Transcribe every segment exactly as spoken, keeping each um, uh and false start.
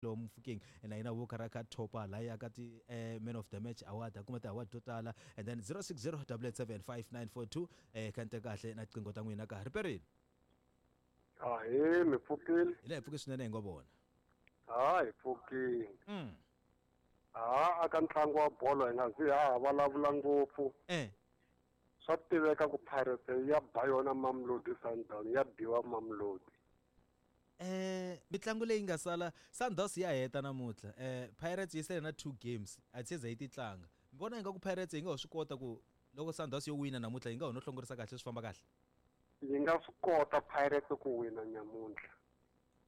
Lowu Mofokeng na yena wo karhi a kha thopa laya ka ti eh, man of the match award, a kuma ti-award to tala. And then zero six zero double eight seven five nine four two eh kha ni teka kahle na tiqingho ta n'wina ka ha ri perile. Ahee, mi pfukile? Hi le hi pfuke swinene, hi ngo vona. Ha, hi pfukile. Mm. Ha, aka ntlangu wa bolo hi nga zi ha ha vulavula ngopfu. Eh. Swa tiveka ku Pirates ya ba yona Mamelodi Sundowns, ya biwa Mamelodi. Eh mitlangu leyi nga sala, Sundowns ya heta namuntlha. Eh Pirates yi sele na two games, a ti se za yi ti tlanga. Mi vona ingaku Pirates yi nga ho swi kota ku loko Sundowns yo wina namuntlha yi nga ho no hlongorisa kahle, swi famba kahle? Yi nga swi kota Pirates ku wina nyamuntlha.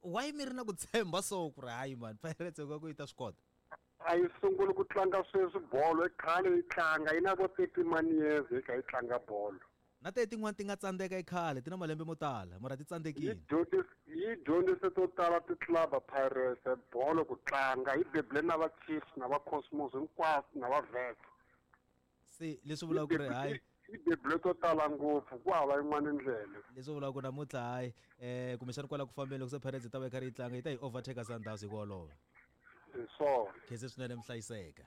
Why mi ri na ku tshemba so ku ri hayi man, Pirates yi nga ku yi ta swi kota? A yi sunguli ku tlanga sweswi bolo, i khale yi tlanga, yi na vo thirty man years yi kha yi tlanga bolo. Na te tin'wani ti nga tsandzeka i khale, ti na malembe mo tala, mara ti tsandzekile. Yi dyondzise, yi dyondzise to tala ti-club Pirates bolo ku tlanga, yi bebule na va Chiefs na va Cosmos hinkwaswo na va Vets. Se leswi vulaka ku ri hayi yi bebule to tala ngopfu, ku hava yin'wana ndlela. Leswi vulaka ku namuntlha hayi, eh kumbexana kwala ku fambeni loko se Pirates yi ta va yi karhi yi tlanga, yi ta yi overtake Sundowns hi ku olova. Hi swona. Khensa swinene, mi hlayiseka.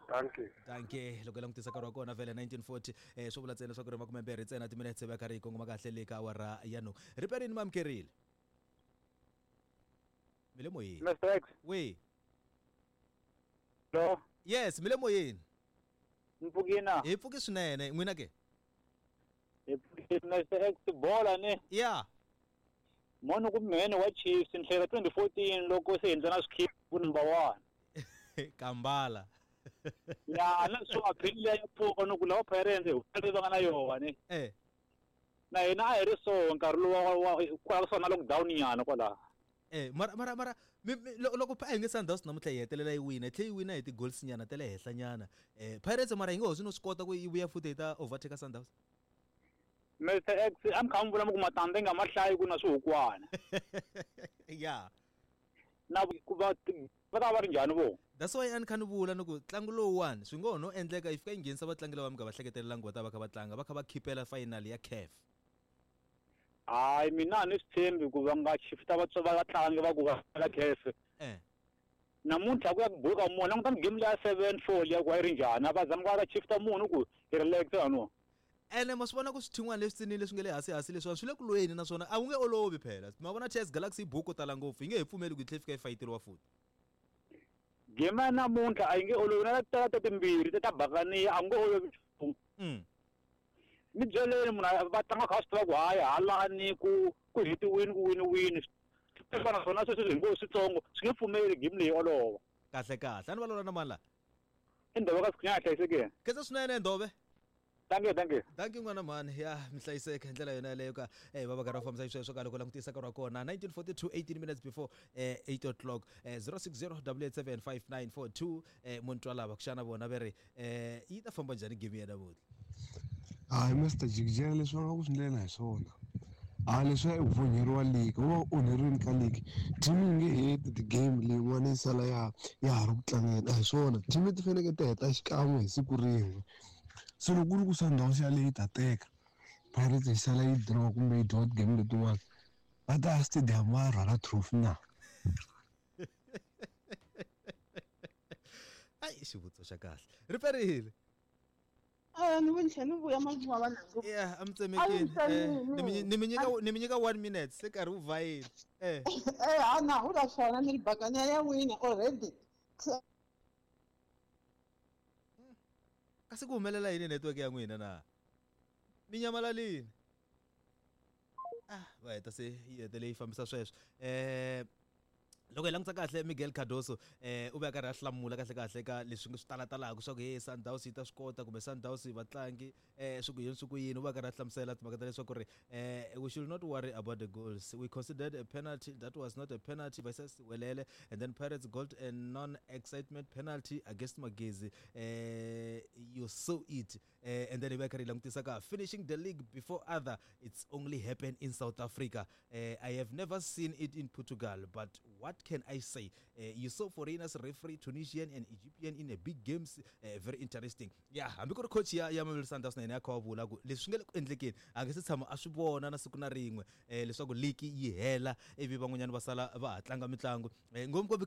Thank you. Thank you. Loko hi langutisa nkarhi wa kona vhele nineteen forty, eh, swo vula ntsena leswaku ri makume mbirhi ntsena timinetse va karhi yi kongoma kahle le ka awara ya nhungu. Riperini mi amukerile. Mi le moyeni. Mister X. We. Hello. Yes, mi le moyeni. Mi pfukile na? Hi pfuke swinene, n'wina ke? Hi pfukile, Mister X, bola ne? Yeah. Mona ku mhene wa Chiefs ni hleka twenty fourteen loko se hindza na swikhiphu ku number one. Kambala. Ya, na swo aphile ya pfuka no ku lava Pirates hi fanele va nga na yona ne. Eh. Na hina a hi ri so nkarhi lowu wa, wa, kwala kusuhi na lockdown nyana kwala. Eh, mara, mara, mara, mi, mi, lo-, loko a hi nge Sundowns namuntlha yi hetelela yi wina, yi tlhela yi wina hi ti-goals nyana ta le henhla nyana. Eh, Pirates mara yi nga ho swi no swi kota ku yi vuya futhi yi ta overtake Sundowns? Mister X, a mi kha mi vula mi ku matandza yi nga ma hlayi ku na swihukwana. Yeah. Na ku va ti-, va ta va ri njhani vo? That's why a ni kha ni vula ni ku ntlangu lowuwani swi ngo ho no endleka yi fika yi nghenisa vatlangi lava mi nga va hleketelelanga va ta va kha va tlanga, va kha va khipela final ya C A F. Hayi, mina a ni swi tshembi ku va nga shifta vatswa va vatlangi va ku va la C A F. Eh. Namuntlha ku ya ku buka munhu, languta game leya seven four liya ku a yi ri njhani, a va zama ku va shifta munhu ku hi relax no. Ene ma swi vona ku swithin'wana leswi tsinile leswi nga le hansi hansi leswiwani swi le ku lweni naswona a wu nge olovi phela. Ma vona T S Galaxy yi buku tala ngopfu, yi nge he pfumeli ku yi tlhela yi fika yi fayiteliwa futhi. Game ya namuntlha a yi nge olovi, na ta ta timbirhi ta Bakania a nge olovi nchumu. Mm. Ni byeleni munhu a va tlanga kha swi tiva ku hayi halani ku, ku hetiwini ku wini wini. Swi fana naswona sweswi hi ngo switsongo swi nge pfumeli game leyi olova. Kahle kahle, a ni vulavula na mani la? I Ndove ka Sikhunyana, hlayisekile. Khensa swinene Ndove. Thank you, thank you. Thank you n'wana mhani. Ya, mi hlayiseka hi ndlela yona yaleyo ka, eh, va va karhi va fambisa xisweswo ka loko langutisa nkarhi wa kona nineteen forty-two, eighteen minutes before, eh, eight o'clock. Eh, zero six zero double eight seven five nine four two, eh, Muntwa lava ku xana vona va ri, eh, yi ta famba njhani game ya namuntlha? Hayi, Mister Jikijela, leswi va nga ku swi ndlela hi swona. Hayi, leswi a hi onheriwa league, wu va onheriwini ka league. Team yi nge heti ti-game leyin'wana yi sala ya, ya ha ri ku tlangeni. A hi swona. Team ti fanekele ti heta xikan'we hi siku rin'we. Se loko ku ri ku Sundowns yaleyo yi ta teka, Pirates yi sala yi draw kumbe yi draw ti-game letin'wana, va ta ya stadium va ya rhwala trophy na? Ai, xivutiso xa kahle. Ri perile. Eh, ni vuntlhe ni vuya manguva va nangu. Yeah, a mi tsemekile. A mi Eh, ni mi tsemekile. ni mi nyika, ni mi nyika one minute, se nkarhi wu vhayile. Eh. Eh, a na hu la swona ni ri Bakania ya wina already. Kasi ku humelela yini network ya n'wina na? Mi nyamalalini. Ah, va heta se yi hetele yi fambisa sweswo. Eh, loko hi langutisa kahle Miguel Cardoso, eh, u ve a karhi a hlamula kahle kahle ka leswi swi talatalaka swa ku hey Sundowns yi ta swi kota kumbe Sundowns vatlangi, eh, swi ku yini swi ku yini, u ve a karhi a hlamusela timhaka ta leswaku ri, eh, we should not worry about the goals. We considered a penalty that was not a penalty versus Welele, and then Pirates got a non-excitement penalty against Magezi. Eh, you saw it. Eh, and then hi ve karhi hi langutisa ka finishing the league before other, it's only happened in South Africa. Eh, I have never seen it in Portugal, but what What can I say? Uh, you saw foreigners referee Tunisian and Egyptian in a big games, uh, very interesting. Yeah, hambi ku ri coach ya ya Mamelodi Sundowns na yena ya kha wa vula ku leswi swi nga le ku endlekeni a nge se tshama a swi vona na siku na rin'we eh, leswaku league yi hela ivi van'wanyana va sala va ha tlanga mitlangu eh, ngopfungopfu kha hi